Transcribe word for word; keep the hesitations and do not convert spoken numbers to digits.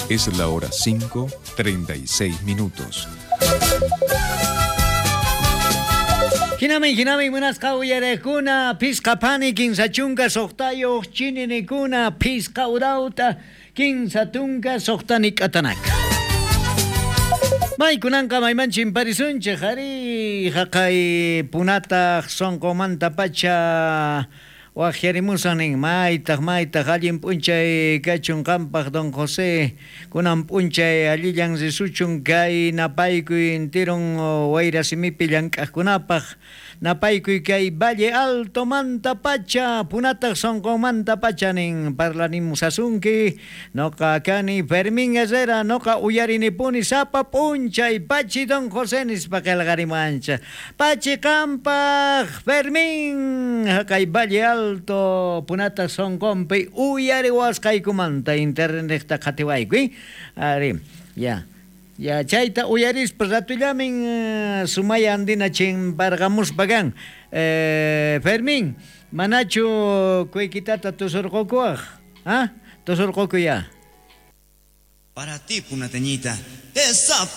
Es la hora cinco, treinta y seis minutos. Hinamin, hinamin, munasqa uyarekuna, pisqa pani, kinsa chunka soqtayoq, chininikuna, pisqa urauta, kinsa tunka, soqtani k'atanaka. Maykunanqa mayman chimparisunchik, ari, haqay punataq sonqomanta pacha waqyarimusan nin, maytaq, maytaq, allin p'unchay kachun qampaq don José, kunan p'unchay allillan risuchun kay napaykuy intirun wayrasimipi llank'aqkunapaq, napaykuy kay Valle Alto manta pacha, punataq sonqomanta pacha nin, parlanimusasunki, noqa kani Fermín Herrera, noqa uyarinipuni sapa p'unchay, pachi don José nispa qillqarimuwanchik, pachi qampaq Fermín, haqay Valle Alto punataq sonqonpi uyariwasqaykumanta internetta qhatiwaykuy, ari, ya. Ya chayta uyarispa ratullamin sumaya andina chimparqamuspa kan. Eh, Fermín, manachu kuykitata tusurqukuwaq? ¿Ah? Tusurqukuy ya. Para ti, punateñita, esa